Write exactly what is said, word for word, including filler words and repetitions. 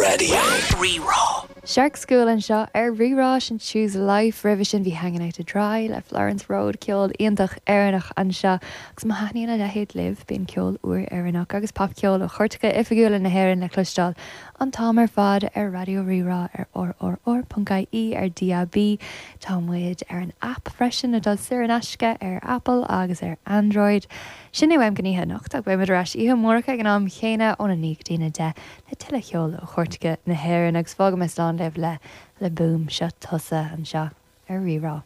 Raidió Rí-Rá. Shark School anseo ar Rí-Rá sin Choose Life roimhe sin bhí Hanging Out to Dry le Florence Road ceol iontach Éireannach anseo agus má thaitníonn a leithéid libh bíonn ceol úr Éireannach agus popcheol ó chairteacha oifigiúla na hÉireann le cloisteáil an t-am ar fad ar Raidió Rí-Rá ar rrr.ie ar DAB Tá muid ar an app freisin atá saor in aisce ar Apple agus ar Android. Sin é uaim don oíche anocht ach beimid ar ais oíche amárach ag an am chéanna óna naoi go dtí a deich le tuilleadh ceoil ó chairteacha na hÉireann agus fágfaidh mé slán libh le le Boom seo tusa anseo ar Rí-Rá.